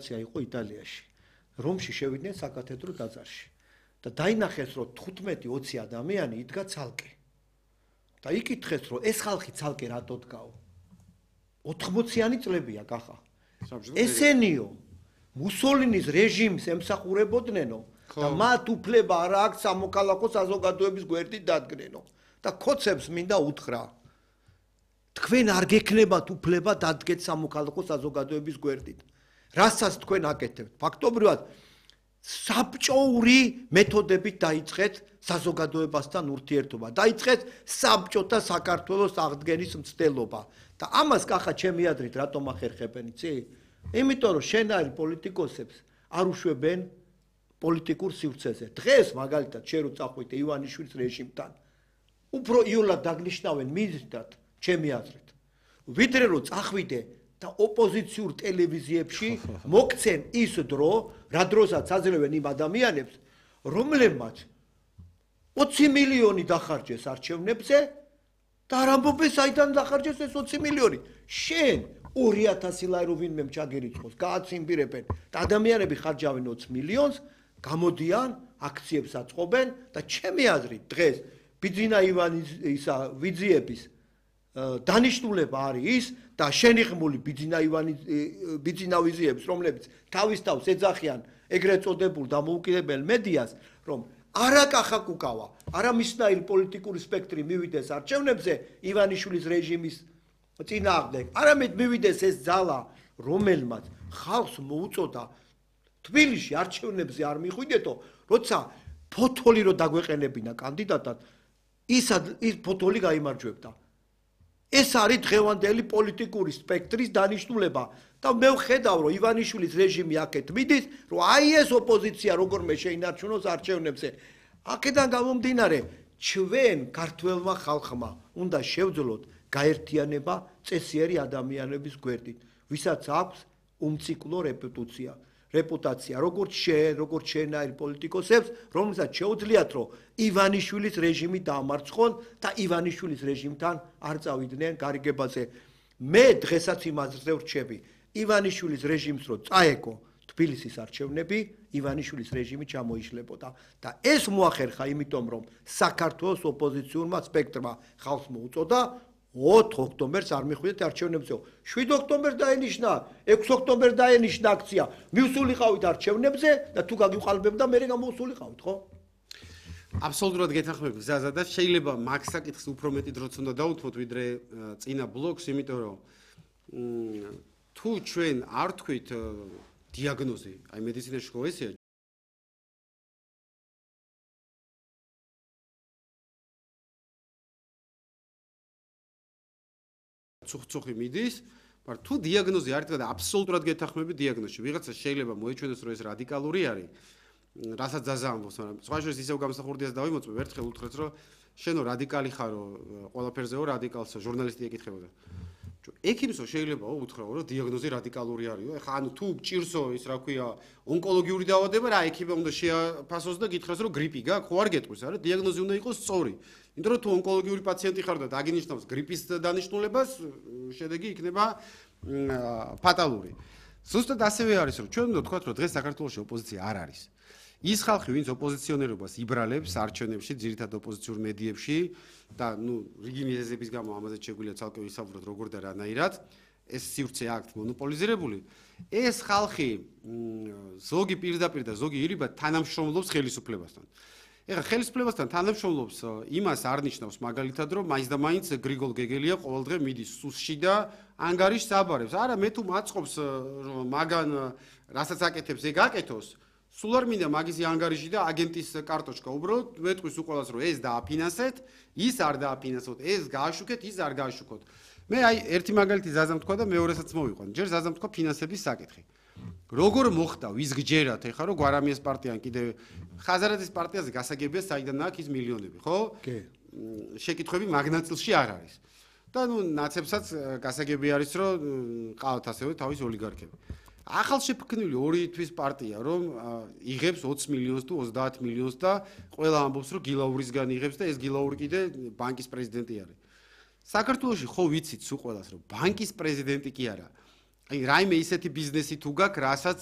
ოპერაცია იყო იტალიაში. რომში შევიდნენ საკათედრო ტაძარში. და დაინახეს, რომ 15-20 ადამიანი იდგა ცალკე. და იკითხეს, რომ ეს ხალხი ცალკე რატო დგაო? 80-იანი წლებია კახა. ესენიო მუსოლინის რეჟიმს ემსახურებოდნენო და მათ უფლება არ აქვს სამოქალაქო საზოგადოების გვერდით დადგნენო და ქოცებს მინდა უთხრა. თქვენ არ გექნებათ უფლება დადგეთ სამოქალაქო საზოგადოების გვერდით. რასაც თქვენ აკეთებთ, ფაქტობრივად საბჭოური მეთოდებით დაიწყეთ საზოგადოებასთან ურთიერთობა, დაიწყეთ საბჭოთა საქართველოს აღდგენის მცდელობა და ამას კახა ჩემი აზრით რატომ ახერხებენ, იცი? იმიტომ რომ შენაირ პოლიტიკოსებს არ უშვებენ პოლიტიკურ სივრცეზე. დღეს მაგალითად შენ რო წახვიდე ივანიშვილის რეჟიმთან, უფრო იოლად დაგნიშნავენ მიზნად, ჩემი აზრით. ვიდრე რომ წახვიდე და ოპოზიციურ ტელევიზიებში მოგცენ ის დრო, რა დროსაც აძლევენ იმ ადამიანებს, რომლებმაც 20 მილიონი დახარჯეს არჩევნებზე და არ ამბობენ საიდან დახარჯეს ეს 20 მილიონი. შენ 2000 ლარი რო ვინმე ჩაგერიცხოს, გააცინბირებენ და ადამიანები ხარჯავენ 20 მილიონს, გამოდიან, აქციებს აწყობენ და ჩემი აზრით დღეს ბიძინა ივანის ისა ვიძიების დანიშნულება არის ის და შენიღმული ბიძინა ვიზიების, რომლებიც თავის თავს ეძახიან ეგრეთ წოდებულ დამოუკიდებელ მედიას, რომ არა კახა კუკავა, არა მისნაირი პოლიტიკური სპექტრი მივიდეს არჩევნებზე ივანიშვილის რეჟიმის წინააღმდეგ, არამედ მივიდეს ეს ძალა, რომელმაც ხალხს მოუწოდა თბილისში არჩევნებზე არ მიხვიდეთო, როცა ფოთოლი რო დაგვეყენებინა კანდიდატად, ის ფოთოლი გაიმარჯვებდა. ეს არის დღევანდელი პოლიტიკური სპექტრის დანიშნულება და მე ვხედავ, რომ ივანიშვილის რეჟიმი აქეთ მიდის, რომ აი ეს ოპოზიცია როგორმე შეინარჩუნოს არჩევნებზე. აქედან გამომდინარე, ჩვენ ქართველმა ხალხმა უნდა შევძლოთ გაერთიანება წესიერი ადამიანების გვერდით, ვისაც აქვს უმციკლო რეპუტაცია, როგორც შენაირ პოლიტიკოსებს, რომელსაც შეუძლიათ, რომ ივანიშვილის რეჟიმი დაამარცხონ და ივანიშვილის რეჟიმთან არ წავიდნენ გარიგებაზე. მე დღესაც იმაზე ვრჩები, ივანიშვილის რეჟიმს რო წაეკო თბილისის არჩევნები, ივანიშვილის რეჟიმი ჩამოიშლებოდა და ეს მოახერხა იმიტომ, რომ საქართველოს ოპოზიციურმა სპექტრმა ხალხს მოუწოდა 4 ოქტომბერს არ მიხვიდეთ არჩევნებზე. 7 ოქტომბერს დაენიშნა, 6 ოქტომბერს დაენიშნა აქცია. მივსულიყავით არჩევნებზე და თუ გაგიყალბებდა, მე გამოვსულიყავით, ხო? აბსოლუტურად გეთანხმები გზაზე და შეიძლება მაგ საკითხს უფრო მეტი დროც უნდა დავუთმოთ ვიდრე წინა ბლოკს, იმიტომ რომ თუ ჩვენ არ თქვით დიაგნოზი, აი მედიცინაში ხო ესეა ცუხცუხი მიდის, მაგრამ თუ დიაგნოზი არ თქვა და აბსოლუტურად გეთანხმები დიაგნოზში, ვიღაცა შეიძლება მოეჩვენოს, რომ ეს რადიკალური არის, რასაც ძალზე ამბობს, მაგრამ სხვა შორის ისევ გამსახურდიას დავიმოწმებ, ერთხელ უთხრეთ, რომ შენო რადიკალი ხარო, ყველაფერზეო რადიკალსო, ჟურნალისტი ეკითხებოდა. ექიმსო შეიძლება უთხრაო, რომ დიაგნოზი რადიკალური არისო. ეხლა ანუ თუ გჭირსო ის რა ქვია, ონკოლოგიური დაავადება, რა ექიმი უნდა შეაფასოს და გითხრას, რომ გრიპი გაქვს, ხო არ გეტყვის, არა? დიაგნოზი უნდა იყოს სწორი. იმიტომ რომ თუ ონკოლოგიური პაციენტი ხარ და დაგინიშნავს გრიპის დანიშნულებას, შედეგი იქნება ფატალური. ზუსტად ასევე არის, რომ ჩვენ უნდა ვთქვათ, რომ დღეს საქართველოში ოპოზიცია არ არის. ის ხალხი, ვინც ოპოზიციონერობას იბრალებს არჩევნებში, ძირითადად ოპოზიციურ მედიებში და რიგი მიზეზების გამო ამაზე შეგვიძლია ცალკე ვისაუბროთ როგორ და რანაირად, ეს სივრცე აქვთ მონოპოლიზირებული. ეს ხალხი ზოგი პირდაპირ და ზოგი ირიბად თანამშრომლობს ხელისუფლებასთან. ეხლა ხელისუფლებასთან თანამშრომლობს იმას არ ნიშნავს მაგალითად, რომ მაინც და მაინც გრიგოლ გეგელია ყოველდღე მიდის სუსში და ანგარიშს აბარებს. არა, მე თუ მაწყობს რომ მაგან რასაც აკეთებს, ეგ აკეთოს. სულ არ მინდა მაგისი ანგარიში და აგენტის კარტოჩკა. უბრალოდ ვეტყვის უყოლას, რომ ეს დააფინანსეთ, ის არ დააფინანსოთ, ეს გააშუქეთ, ის არ გააშუქოთ. მე აი ერთი მაგალითი ზაზამ თქვა და მეორესაც მოვიყვან. ჯერ ზაზამ თქვა ფინანსების საკითხი. როგორ მოხდა ვიზგჯერათ ეხლა რომ გვარამიას პარტიան კიდე ხაზარაძის პარტიაზე გასაგებია საიდან აქვს ის მილიონები, ხო? კი. შეკითხვები მაგნაწილში არ არის. და ნაცებსაც გასაგები არის, რომ ყავთ ასევე თავის ოლიგარქები. ახალშეფქმნილი ორი თვის პარტია, რომ იღებს 20 მილიონს თუ 30 მილიონს და ყველა ამბობს, რომ გილაურისგან იღებს და ეს გილაური კიდე ბანკის პრეზიდენტი არის. საქართველოში ხო ვიცით სულ ყველას, რომ ბანკის პრეზიდენტი კი არა. აი რაიმე ისეთი ბიზნესი თუ გაქვს, რასაც